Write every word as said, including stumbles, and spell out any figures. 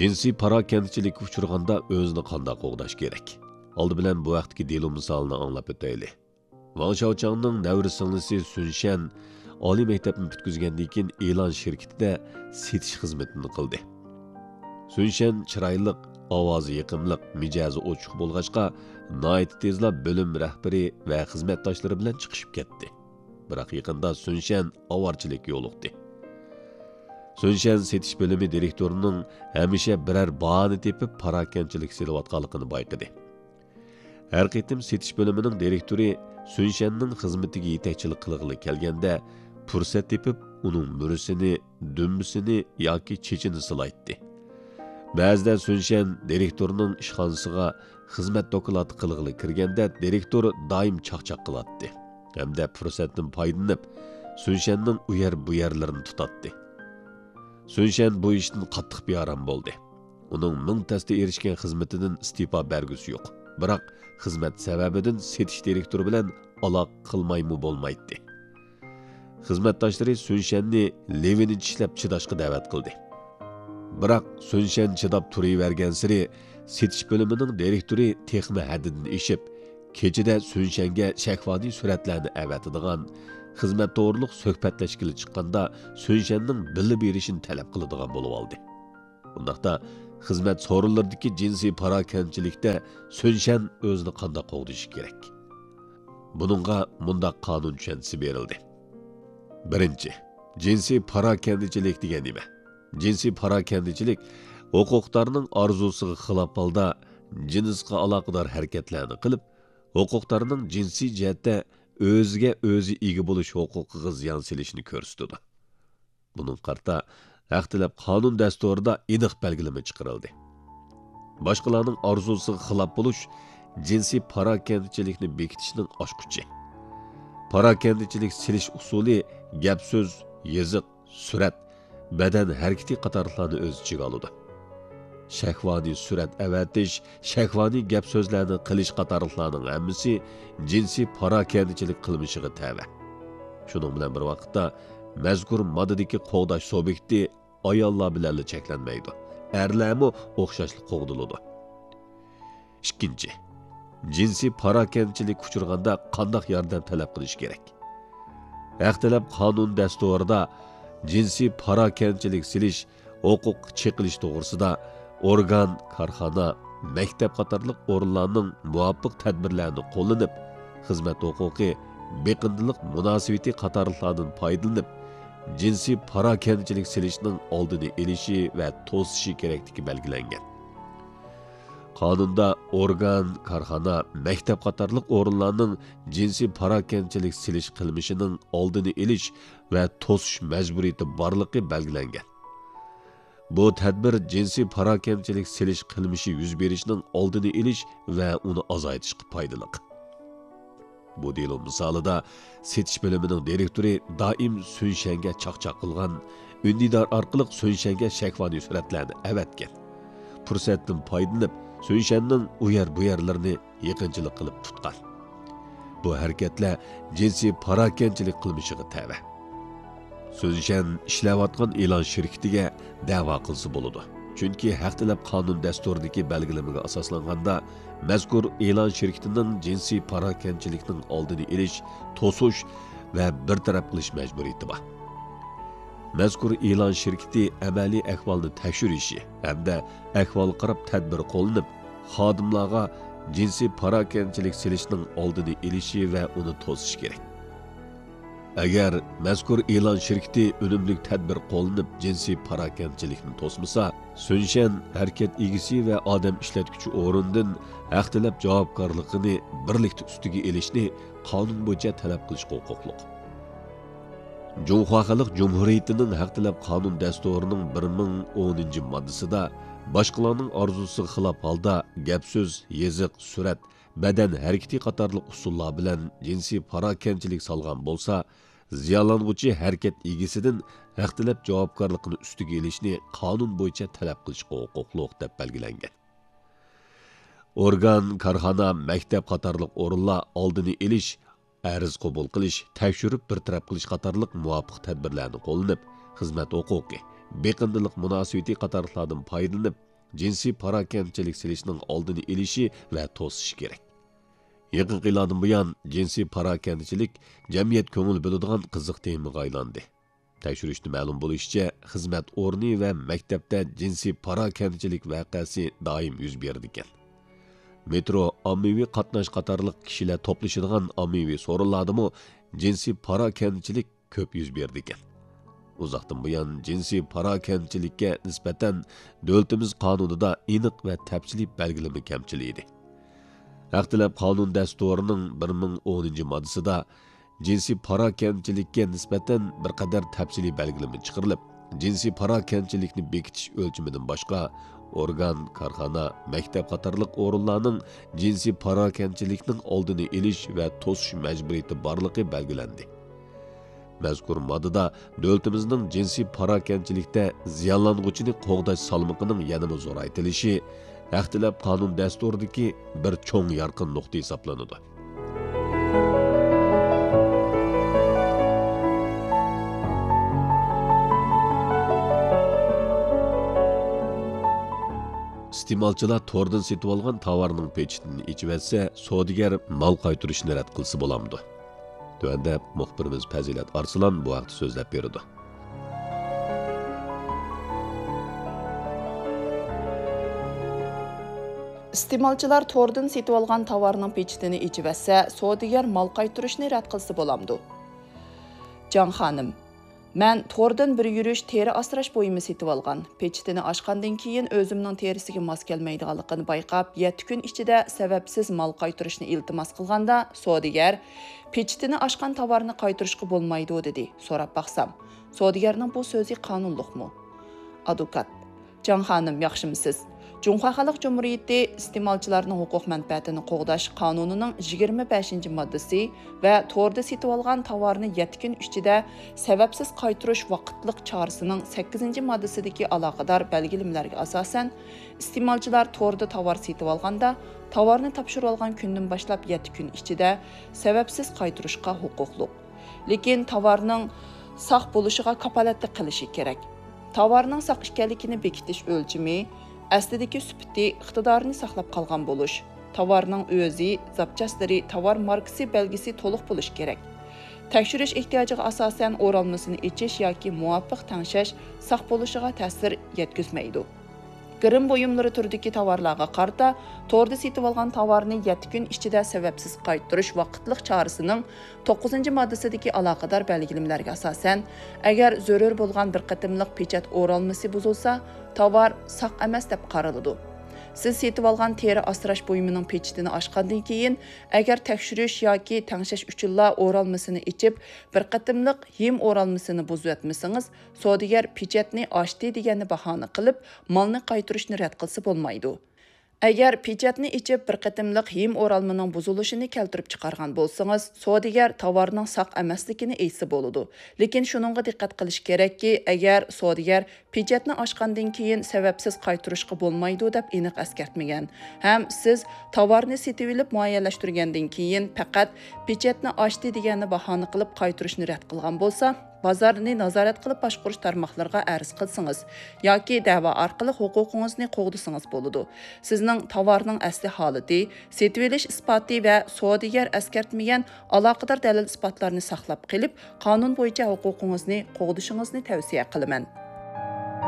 جىنسىي پاراكەندىچىلىككە ئۇچرىغاندا ئۆزىنى قانداق قوغداش كېرەك؟ ئالدى بىلەن بۇ ھەقتىكى دېلو مىسالىنى ئاڭلاپ ئۆتەيلى. ۋاڭ شياۋچاڭنىڭ نەۋرە سىڭلىسى سۈن شەن ئالىي مەكتەپنى پۈتكۈزگەندىن كېيىن ئېلان شىركىتىدە سېتىش خىزمىتىنى قىلدى. سۈن شەن چىرايلىق، ئاۋازى يېقىملىق، مىجەزى ئوچۇق بولغاچقا، ناھايىتى تېزلا بۆلۈم رەھبىرى ۋە خىزمەتداشلىرى بىلەن چىقىشىپ كەتتى. بىراق يېقىندا سۈن شەن ئاۋارىچىلىككە يولۇقتى. سۈن شەن سېتىش بۆلۈمى دىرېكتورىنىڭ ھەمىشە بىرەر باھانە تېپىپ پاراكەندىچىلىك سېلىۋاتقانلىقىنى بايقىدى. ھەر قېتىم سېتىش بۆلۈمىنىڭ دىرېكتورى سۈن شەننىڭ خىزمىتىگە يېتەكچىلىك قىلغىلى كەلگەندە، پۇرسەت تېپىپ ئۇنىڭ مۈرىسىنى، دۈمبىسىنى ياكى چېچىنى سىلايتتى. بەزىدە سۈن شەن دىرېكتورنىڭ ئىشخانىسىغا خىزمەت دوكلاتى قىلغىلى كىرگەندە، دىرېكتور دائىم چاقچاق قىلاتتى ھەمدە پۇرسەتتىن پايدىلىنىپ، سۈن شەننىڭ ئۇ يەر بۇ يەرلىرىنى تۇتاتتى. سۈن شەن بۇ ئىشتىن قاتتىق بىئارام بولدى. ئۇنىڭ مىڭ تەستە ئېرىشكەن خىزمىتىدىن ئىستېپا بەرگۈسى يوق. بىراق خىزمەت سەۋەبىدىن سېتىش دىرېكتورى بىلەن ئالاقە قىلمايمۇ بولمايتتى. خىزمەتداشلىرى سۈن شەننى لېۋىنى چىشلەپ چىداشقا دەۋەت قىلدى. بىراق سۈن شەن چىداپ تۇرۇۋەرگەنسېرى، سېتىش بۆلۈمىنىڭ دىرېكتورى تېخىمۇ ھەددىدىن ئېشىپ، كېچىدە سۈن شەنگە شەھۋانىي سۈرەتلەرنى ئەۋەتىدىغان، خىزمەت توغرۇلۇق سۆھبەتلەشكىلى چىققاندا سۈن شەننىڭ بىللە بېرىشىنى تەلەپ قىلىدىغان بولۇۋالدى. بۇنداقتا خىزمەت سورۇنلىرىدىكى جىنسىي پاراكەندىچىلىكتە سۈن شەن ئۆزىنى قانداق قوغدىشى كېرەك؟ بۇنىڭغا مۇنداق قانۇن چۈشەنچىسى بېرىلدى. بىرىنچى، جىنسىي پاراكەندىچىلىك دېگەن نېمە؟ جىنسىي پاراكەندىچىلىك ھوقۇقدارنىڭ ئارزۇسىغا خىلاپ ھالدا جىنسقا ئالاقىدار ھەرىكەتلەرنى قىلىپ، ھوقۇقدارنىڭ جىنسىي جەھەتتە ئۆزىگە ئۆزى ئىگە بولۇش ھوقۇقىغا زىيان سېلىشنى كۆرسىتىدۇ. بۇنىڭغا قارىتا ھەق تەلەپ قانۇن دەستۇرىدا ئېنىق بەلگىلىمە چىقىرىلدى. باشقىلارنىڭ ئارزۇسىغا خىلاپ بولۇش جىنسىي پاراكەندىچىلىكنى بېكىتىشنىڭ ئاچقۇچى. پاراكەندىچىلىك سېلىش ئۇسۇلى گەپ-سۆز، يېزىق، سۈرەت، بەدەن ھەرىكىتى قاتارلىقلارنى ئۆز ئىچىگە ئالىدۇ. شەھۋانىي سۈرەت ئەۋەتىش، شەھۋانىي گەپ-سۆزلەرنى قىلىش قاتارلىقلارنىڭ ھەممىسى جىنسىي پاراكەندىچىلىك قىلمىشىغا تەۋە. شۇنىڭ بىلەن بىر ۋاقىتتا، مەزكۇر ماددىدىكى قوغداش سۇبيېكتى ئاياللار بىلەنلا چەكلەنمەيدۇ. ئەرلەرمۇ ئوخشاشلا قوغدىلىدۇ. ئىككىنچى، جىنسىي پاراكەندىچىلىككە ئۇچرىغاندا قانداق ياردەم تەلەپ قىلىش كېرەك؟ ھەق تەلەپ قانۇن دەستۇرىدا جىنسىي پاراكەندىچىلىك سېلىش ھوقۇققا چېقىلىش توغرىسىدا ئورگان، كارخانا، مەكتەپ قاتارلىق ئورۇنلارنىڭ مۇۋاپىق تەدبىرلەرنى قوللىنىپ، خىزمەت ھوقۇقى، بېقىندىلىق مۇناسىۋىتى قاتارلىقلاردىن پايدىلىنىپ، جىنسىي پاراكەندىچىلىك سېلىشنىڭ ئالدىنى ئېلىشى ۋە توسۇشى كېرەكلىكى بەلگىلەنگەن. قانۇندا ئورگان، كارخانا، مەكتەپ قاتارلىق ئورۇنلارنىڭ جىنسىي پاراكەندىچىلىك سېلىش قىلمىشىنىڭ ئالدىنى ئېلىش ۋە توسۇش مەجبۇرىيىتى بارلىقى بەلگىلەنگەن. بۇ تەدبىر جىنسىي پاراكەندىچىلىك سېلىش قىلمىشى يۈز بېرىشنىڭ ئالدىنى ئېلىش ۋە ئۇنى ئازايتىشقا پايدىلىق. بۇ دېلو مىسالىدا سېتىش بۆلۈمىنىڭ دىرېكتورى دائىم سۈن شەنگە چاقچاق قىلغان، ئۈندىدار ئارقىلىق سۈن شەنگە شەھۋانىي سۈرەتلەرنى ئەۋەتكەن. پۇرسەتتىن پايدىلىنىپ، سۈن شەننىڭ ئۇ يەر بۇ يەرلىرىنى يېقىنچىلىق قىلىپ تۇتقان. بۇ ھەرىكەتلەر جىنسىي پاراكەندىچىلىك قىلمىشىغا تەۋە. سۈن شەن ئىشلەۋاتقان ئېلان شىركىتىگە دەۋا قىلسا بولىدۇ. چۈنكى ھەق تەلەپ قانۇن دەستۇرىدىكى بەلگىلىمىگە ئاساسلانغاندا، مەزكۇر ئېلان شىركىتىنىڭ جىنسىي پاراكەندىچىلىكنىڭ ئالدىنى ئېلىش، توسۇش ۋە بىر تەرەپ قىلىش مەجبۇرىيىتى بار. مەزكۇر ئېلان شىركىتى ئەمەلىي ئەھۋالنى تەكشۈرۈشى ھەمدە ئەھۋالغا قاراپ تەدبىر قوللىنىپ، خادىملارغا جىنسىي پاراكەندىچىلىك سېلىشنىڭ ئالدىنى ئېلىشى ۋە ئۇنى توسۇشى كېرەك. ئەگەر مەزكۇر ئېلان شىركىتى ئۈنۈملۈك تەدبىر قوللىنىپ جىنسىي پاراكەندىچىلىكنى توسمىسا، سۈن شەن ھەرىكەت ئىگىسى ۋە ئادەم ئىشلەتكۈچى ئورنىدىن ھەق تەلەپ جاۋابكارلىقىنى بىرلىكتە ئۈستىگە ئېلىشنى قانۇن بويىچە تەلەپ قىلىشقا ھوقۇقلۇق. جۇڭخۇا خەلق جۇمھۇرىيىتىنىڭ ھەق تەلەپ قانۇن دەستۇرىنىڭ بىر مىڭ ئونىنچى ماددىسىدا باشقىلارنىڭ ئارزۇسىغا خىلاپ ھالدا گەپ-سۆز، يېزىق، سۈرەت، بەدەن ھەرىكىتى قاتارلىق ئۇسۇللار بىلەن جىنسىي پاراكەندىچىلىك سالغان بولسا، زىيانلانغۇچى ھەرىكەت ئىگىسىدىن ھەق تەلەپ جاۋابكارلىقىنى ئۈستىگە ئېلىشنى قانۇن بويىچە تەلەپ قىلىشقا ھوقۇقلۇق، دەپ بەلگىلەنگەن. ئورگان، كارخانا، مەكتەپ قاتارلىق ئورۇنلار ئالدىنى ئېلىش، ئەرز قوبۇل قىلىش، تەكشۈرۈپ بىر تەرەپ قىلىش قاتارلىق مۇۋاپىق تەدبىرلەرنى قوللىنىپ، خىزمەت ھوقۇقى، بېقىندىلىق مۇناسىۋىتى قاتارلىقلاردىن پايدىلىنىپ، جىنسىي پاراكەندىچىلىك سېلىشنىڭ ئالدىنى ئېلىشى ۋە توسۇشى كېرەك. يېقىنقى يىللاردىن بۇيان، جىنسىي پاراكەندىچىلىك جەمئىيەت كۆڭۈل بۆلىدىغان قىزىق تېمىغا ئايلاندى. تەكشۈرۈشتە مەلۇم بولۇشىچە، خىزمەت ئورنى ۋە مەكتەپتە جىنسىي پاراكەندىچىلىك ۋەقەسى دائىم يۈز بېرىدىكەن. مېترو، ئاممىۋى قاتناش قاتارلىق كىشىلەر توپلىشىدىغان ئاممىۋى سورۇنلاردىمۇ جىنسىي پاراكەندىچىلىك كۆپ يۈز بېرىدىكەن. ئۇزاقتىن بۇيان جىنسىي پاراكەندىچىلىككە نىسبەتەن دۆلىتىمىز قانۇنىدا ئېنىق ۋە تەپسىلىي بەلگىلىمە كەمچىل ئىدى. ھەق تەلەپ قانۇن دەستۇرىنىڭ بىر مىڭ ئونىنچى ماددىسىدا جىنسىي پاراكەندىچىلىككە نىسبەتەن بىر قەدەر تەپسىلىي بەلگىلىمە چىقىرىلىپ، جىنسىي پاراكەندىچىلىكنى بېكىتىش ئۆلچىمىدىن باشقا، ئورگان، كارخانا، مەكتەپ قاتارلىق ئورۇنلارنىڭ جىنسىي پاراكەندىچىلىكنىڭ ئالدىنى ئېلىش ۋە توسۇش مەجبۇرىيىتى بارلىقى بەلگىلەندى. مەزكۇر ماددىدا دۆلىتىمىزنىڭ جىنسىي پاراكەندىچىلىكتە زىيانلانغۇچىنى قوغداش سالمىقىنىڭ يەنىمۇ زورايتىلىشى ھەق تەلەپ قانۇن دەستۇرىدىكى بىر چوڭ يارقىن نۇقتا ھېسابلىنىدۇ. ئىستېمالچىلار توردىن سېتىۋالغان تاۋارنىڭ پېچىتىنى ئېچىۋەتسە، سودىگەر مال قايتۇرۇشنى رەت قىلسا بولامدۇ؟ تۆۋەندە مۇخبىرىمىز پەزىلەت ئارسلان بۇ ھەقتە سۆزلەپ بېرىدۇ. ئىستېمالچىلار توردىن سېتىۋالغان تاۋارنىڭ پېچىتىنى ئېچىۋەتسە، سودىگەر مال قايتۇرۇشنى رەت قىلسا بولامدۇ؟ جاڭ خانىم، مەن توردىن بىر يۈرۈش تېرە ئاسراش بۇيۇمى سېتىۋالغان. پېچىتىنى ئاچقاندىن كېيىن ئۆزۈمنىڭ تېرىسىگە ماس كەلمەيدىغانلىقىنى بايقاپ، يەتتە كۈن ئىچىدە سەۋەبسىز مال قايتۇرۇشنى ئىلتىماس قىلغاندا، سودىگەر، «پېچىتىنى ئاچقان تاۋارنى قايتۇرۇشقا بولمايدۇ» دېدى. سوراپ باقسام، سودىگەرنىڭ بۇ سۆزى قانۇنلۇقمۇ؟ ئادۋوكات، جاڭ خانىم، ياخشىمۇسىز؟ جۇڭخۇا خەلق جۇمھۇرىيىتى ئىستېمالچىلارنىڭ ھوقۇق مەنپەئەتىنى قوغداش قانۇنىنىڭ يىگىرمە بەشىنچى ماددىسى ۋە توردا سېتىۋالغان تاۋارنى يەتتە كۈن ئىچىدە سەۋەبسىز قايتۇرۇش ۋاقىتلىق چارىسىنىڭ سەككىزىنچى ماددىسىدىكى ئالاقىدار بەلگىلىمىلەرگە ئاساسەن، ئىستېمالچىلار توردا تاۋار سېتىۋالغاندا، تاۋارنى تاپشۇرۇۋالغان كۈندىن باشلاپ يەتتە كۈن ئىچىدە سەۋەبسىز قايتۇرۇشقا ھوقۇقلۇق. لېكىن تاۋارنىڭ ساق بولۇشىغا كاپالەتلىك قىلىشى كېرەك. تاۋارنىڭ ساق ئىكەنلىكىنى بېكىتىش ئۆلچىمى، ئەسلىدىكى سۈپىتى، ئىقتىدارىنى ساقلاپ قالغان بولۇش. تاۋارنىڭ ئۆزى، زاپچاسلىرى، تاۋار ماركىسى بەلگىسى تولۇق بولۇشى كېرەك. تەكشۈرۈش ئېھتىياجىغا ئاساسەن، ئورالمىسىنى ئېچىش ياكى مۇۋاپىق تەڭشەش ساق بولۇشىغا تەسىر يەتكۈزمەيدۇ. گىرىم بۇيۇملىرى تۈرىدىكى تاۋارلارغا قارىتا، توردا سېتىۋالغان تاۋارنى يەتتە كۈن ئىچىدە سەۋەبسىز قايتۇرۇش ۋاقىتلىق چارىسىنىڭ توققۇزىنچى ماددىسىدىكى ئالاقىدار بەلگىلىمىلەرگە ئاساسەن، ئەگەر زۆرۈر بولغان بىر قېتىملىق پېچەت ئورالمىسى بۇزۇلسا، تاۋار ساق ئەمەس دەپ قارىلىدۇ. سىز سېتىۋالغان تېرە ئاسراش بۇيۇمىنىڭ پېچىتىنى ئاچقاندىن كېيىن، ئەگەر تەكشۈرۈش ياكى تەڭشەش ئۈچۈنلا ئورالمىسىنى ئېچىپ، بىر قېتىملىق ھىم ئورالمىسىنى بۇزۇۋەتمىسىڭىز، سودىگەر پېچەتنى ئاچتى دېگەننى باھانە قىلىپ، مالنى قايتۇرۇشنى رەت قىلسا بولمايدۇ. ئەگەر پېچەتنى ئېچىپ، بىر قېتىملىق ھىم ئورالمىنىڭ بۇزۇلۇشىنى كەلتۈرۈپ چىقارغان بولسىڭىز، سودىگەر تاۋارنىڭ ساق ئەمەسلىكىنى ئېيتسا بولىدۇ. لېكىن شۇنىڭغا دىققەت قىلىش كېرەككى، ئەگەر سودىگەر پېچەتنى ئاچقاندىن كېيىن سەۋەبسىز قايتۇرۇشقا بولمايدۇ دەپ ئېنىق ئەسكەرتمىگەن ھەم سىز تاۋارنى سېتىۋېلىپ مۇئەييەنلەشتۈرگەندىن كېيىن پەقەت پېچەتنى ئاچتى دېگەننى باھانە قىلىپ قايتۇرۇشنى رەت قىلغان بولسا، بازارنى نازارەت قىلىپ باشقۇرۇش تارماقلىرىغا ئەرز قىلسىڭىز ياكى دەۋا ئارقىلىق ھوقۇقىڭىزنى قوغدىسىڭىز بولىدۇ. سىزنىڭ تاۋارنىڭ ئەسلى ھالىتى، سېتىۋېلىش ئىسپاتى ۋە سودىگەر ئەسكەرتمىگەن ئالاقىدار دەلىل-ئىسپاتلارنى ساقلاپ قېلىپ، قانۇن بويىچە ھوقۇقىڭىزنى قوغدىشىڭىزنى تەۋسىيە قىلىمەن.